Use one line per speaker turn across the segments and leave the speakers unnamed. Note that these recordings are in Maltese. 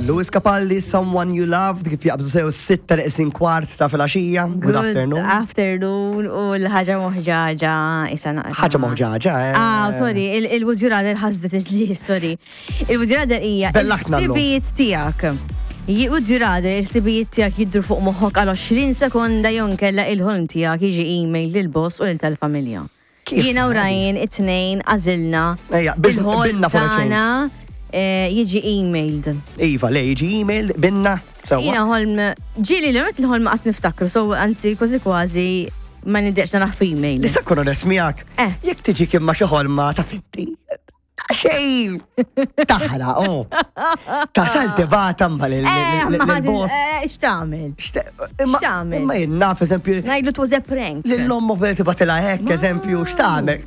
Louis Capaldi, Someone You Loved, kif jaqbżu sew sitta neqsin kwart ta' filgħaxija. Good afternoon.
Afternoon u l-ħaġa moħġaġa isa naqra.
Ħaġa moħġaġa, eh.
Ah, sorry, il-Would You Rather ħasdet li, sorry. Il-Would You Rather hija
Bellaħna llum.
il-sibijiet tiegħek. Would you rather il-sibijiet tiegħek jidru fuq moħħok għal 20 sekonda jew inkella il-ħolm tiegħek jiġi email lil boss u lil tal-familja.
Kif?
Jiena u Ryan it-tnejn għażilna
Ejja,
il-ħolm
binna for a change.
tagħna jiġi emailed.
Iva, le, jiġi email, binna, sewwa.
Jiena ħolm, ġieli li għamilt il-ħolm qas niftakru, so anzi kważi kważi ma niddeqx naraħ f'email.
Nista' nkun onest miegħek. Jekk tiġi kien ma xi ħolma ta' finti. Xejn! Taħra, oh. Tasal tibata ma l-boss.
X'tagħmel? X'tagħmel?
Imma jien naf, eżempju.
Ngħidlu it was a prank.
Lill-ommu bel tibatilha hekk, eżempju, x'tagħmel?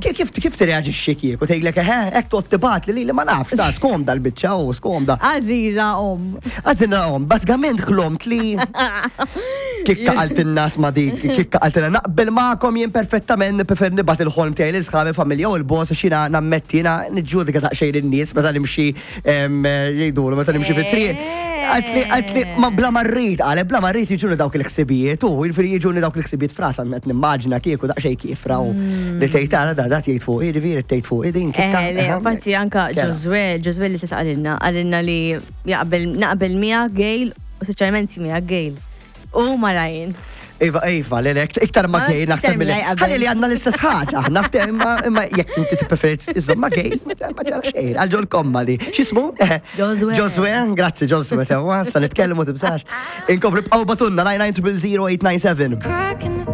Kif kif tirreaġixxi kieku tgħidlek eħe, hekk toqgħod tibat li li ma nafx, ta' skomda l-biċċa u skomda.
Għażiża om.
Għażiża om, bażikament ħlomt li kikka qaltilna sma dik, kikka qaltilna naqbel magħkom jien perfettament nipprefer nibgħat il-ħolm tiegħi lil sħabi familja u l-boss għax jiena nammetti jiena niġġudika daqsxejn in-nies meta nimxi jgħidulu meta nimxi fit-triq. Qaltli qaltli ma bla ma rrid qalet bla ma rrid jiġuni dawk il-ħsibijiet u jiġifieri jiġuni dawk il-ħsibijiet f'rasha qed nimmaġina kieku daqsxejn kiefra u li tgħid ara da dat jgħid fuqi jiġifieri tgħid fuqi din kikka.
Le, infatti anka Ġożwè, Ġożwè li stess qalilna, qalilna li jaqbel naqbel miegħek Gail u speċjalment miegħek Gail. U ma Ryan.
Iva, iva, le, le, iktar ma
Ah,
Gail naħseb
iktar
mill
mill-li
Ħalli li għandna l-istess ħaġa, aħna fte, imma imma jekk inti tippreferi iżomm ma Gail, ma ġara xejn, għal ġol komma li. X'ismu?
Ġożwè.
Ġożwè, grazzi Ġożwè, tewa, sa nitkellmu tibżax. Inkomplu bqgħu batunna 9900897.